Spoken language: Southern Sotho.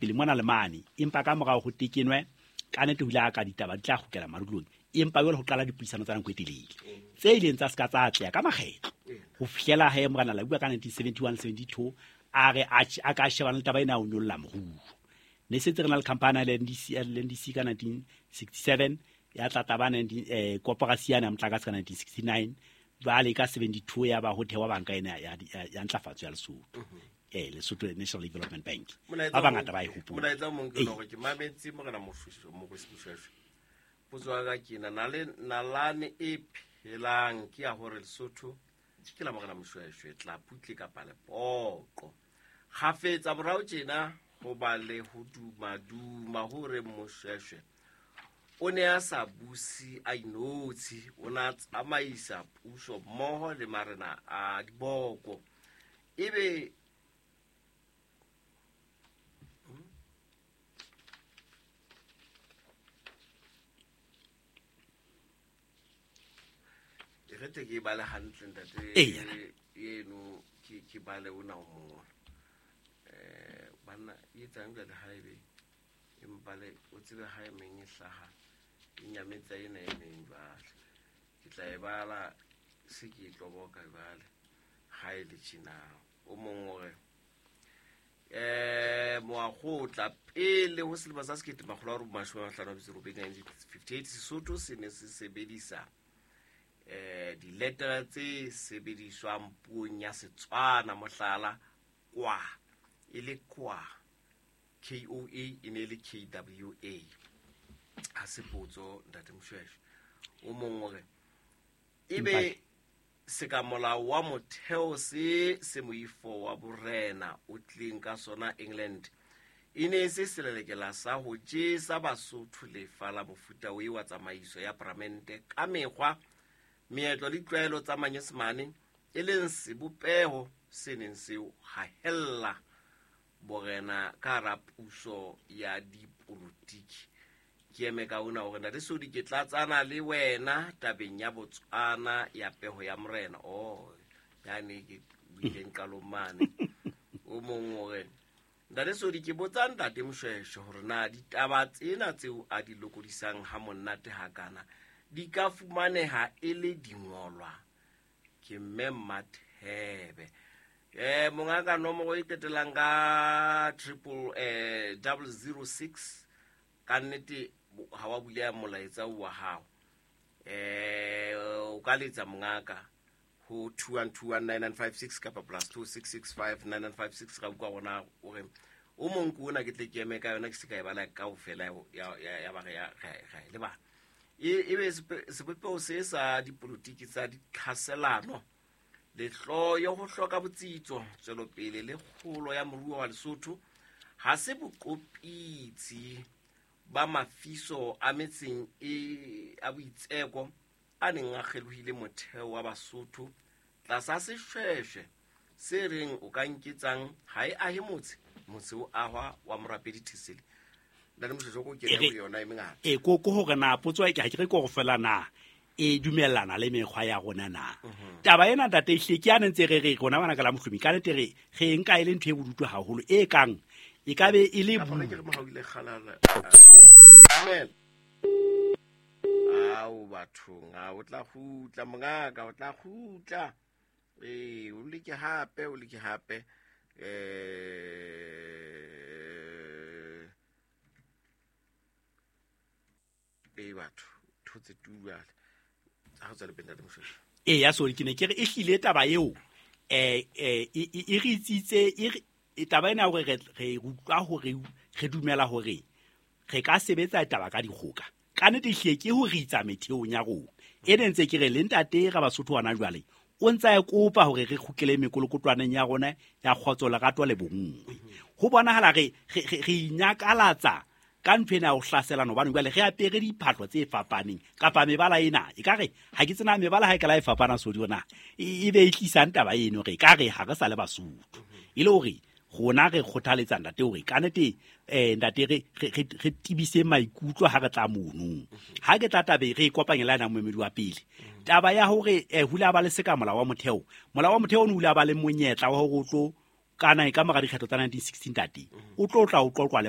Pele mona le mane, empa ka morao ho tekenwe, ka nnete ho ile ha ka ditaba di tla kgutlela madulong, empa jwale ho qala dipuisano tsa nako e telele tse ileng tsa se ka tsa atleha ka makgetlo ho fihlela he Morena Labuwa ka 1971 72 a re a ka shebana le taba ena ya ho nyolla moruo. Ne setse re na le khampani ya LNDC, LNDC ka 1967 ya tla taba koporasi yane ya motlakase ka 1969, jwale ka 72 ya ba ho thewa banka ena ya ntlafatso ya Lesotho. Lesotho National Development Bank. Ba bangata ba e hopola. Molaetsa o mong ke hore ke mametse Morena Moshoeshoe. Potso ya ka ke ena, nalane e phelang ke ya hore Lesotho ke la Morena Moshoeshoe, Tlaputle kapa Lepoqo. Kgafetsa morao tjena ho ba le ho duma-duma hore Moshoeshoe o ne a sa buse a inotshi, o ne a tsamaisa puso mmoho le marena a diboko. Ebe e re te ke bale hantle ntate eno, ke bale ona o mong. Banna e etsang jwale ha ebe empa le o tsebe ha e meng e hlaha e nyametsa ena e meng jwale. Ke tla e bala se ke e tloboka jwale ha e le tjena. O mong o re, moakgotla pele ho selemo sa sekete makgolo a robong mashome a mahlano a metso e robedi, 1958, Sesotho se ne se sebedisa diletera tse sebediswang puong ya Setswana, mohlala kwa e le kwa, KOA e ne e le KWA. Ha se potso ntate Moshoeshoe. O mong o re ebe seka molao wa motheo se se moifo wa borena o tlileng ka sona England e ne e se selelekela sa ho jesa Basotho lefa la mofuta o wa tsamaiso ya paramente ka mekgwa, meetlo le ditlwaelo tsa Manyesemane, e leng sebopeho se neng se hahella borena ka hara puso ya dipolotiki. Ke eme ka ona hore ntate Sodi ke tlatsana le wena tabeng ya Botswana ya peho ya morena. Oh, yane ke buileng qalong mane. O mong o re, ntate Sodi ke botsa ntate Moshoeshoe hore na ditaba tsena tseo a di lokodisang ha monate hakana di ka fumaneha e le dingolwa. Ke mme Mmathebe. Mongaka nomoro e qetellang ka triple, double zero six, ka nnete ha wa buleha molaetsa o wa hao. O ka letsa mongaka ho 21219956 kapa plus 26659956. Ra utlwa rona o re o mong ke ona ke tle ke eme ka yona, ke se ka e bala kaofela ya ba re ya, ra, ra e lebala. E be sebopeho se sa dipolotiki tsa ditlhaselano, lehloyo, ho hloka botsitso, tswelopele le kgolo ya moruo wa Lesotho ha se boqopitsi ba mafiso a metseng e a boitseko a neng a kgelohile motheo wa Basotho tlasa seshweshwe se reng o ka nketsang ha e ahe motse, motse o ahwa wa morapedi Thesele. Ntate Moshoeshoe, ko kene ho yona e mengata. Ko hore na potso e ke ha ke re ko go fela na e dumellana le mekgwa ya rona na. Taba ena ntate ehlile ke ya ne ntse re re rona bana ka la mohlomi, ka nnete re nka e le ntho e bodutu haholo e kang e ka be e le Ka bu- ke re mohau ile kgalala. Amen. Ao bathong, a o tla kgutla mongaka, o tla kgutla. O leke hape, o leke hape. Batho, thotse tu jwale. Ha o tswele pele, ntate Moshoeshoe. Ya sorry, ke ne ke re e hlile taba eo, e re itsitse, e re, e taba ena hore re utlwa hore re dumela hore re ka sebetsa taba ka dikgoka. Ka nnete ehlile ke ho re itsa metheong ya rona. E ne ntse ke re le ntate ra Basotho hona jwale, o ntsa e kopa hore re kgutlele mekolokotwaneng ya rona ya kgotso, lerato le bonngwe. Ho bonahala re inyakalatsa ka ntho ena ya ho hlaselana, hobane jwale re apere diphahlo tse fapaneng kapa mebala ena. Ekare ha ke tsena mebala ha e ka la e fapana sodi ona, e be e tlisang taba eno re ka re ha re sa le Basotho. E le hore rona re kgothaletsa ntate hore ka nnete, ntate re tebise maikutlo ha re tla mono. Ha ke tla tabe re kopanye le yena moemedi wa pele. Taba ya hore ho ile ha ba le seka molao wa motheo. Molao wa motheo o ne o ile ha ba le monyetla wa hore o tlo Kana e ka mora dikgetho tsa 1916, ntate, o tlo tla o qoqwa le